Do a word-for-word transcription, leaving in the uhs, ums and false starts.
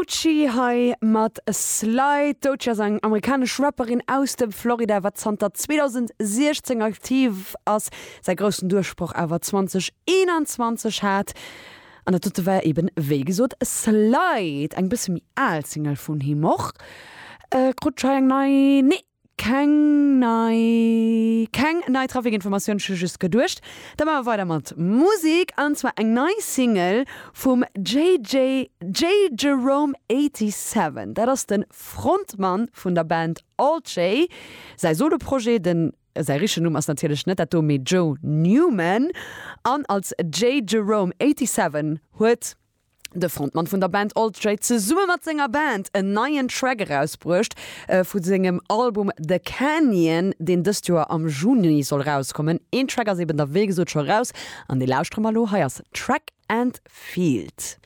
Doechii hei mat Slide. Doechii ass eng amerikanesch Rapperin aus dem Florida, wat zanter zweedausendsechzéng aktiv ass, säi groussen Duerchbroch awer zweedausendeenanzwanzeg hat. An dat dote war eben, wéi gesot, Slide, eng bësse méi al Single vun him och. Krut ech hei eng nei? Nee, keng nei, keng nei Trafikinformatioun, ech hu just geduecht. Da maache mer weider mat Musek, an zwar eng nei Single vum J J, Jay Jerome siwwenachtzeg. Dat ass de Frontmann vun der Band Alt J. Säi Soloprojet, den säi richtegen Numm ass natierlech net dat do, mee Joe Newman. An als Jay Jerome siwwenachtzeg huet de Frontmann vun der Band Alt J zesumme mat senger Band en neien Track erausbruecht vu sengem Album The Canyon, deen dëst Joer am Juni soll rauskommen. Een Track ass eben da wéi gesot scho raus an dee lauschtere mer elo. Hei ass Track and Field.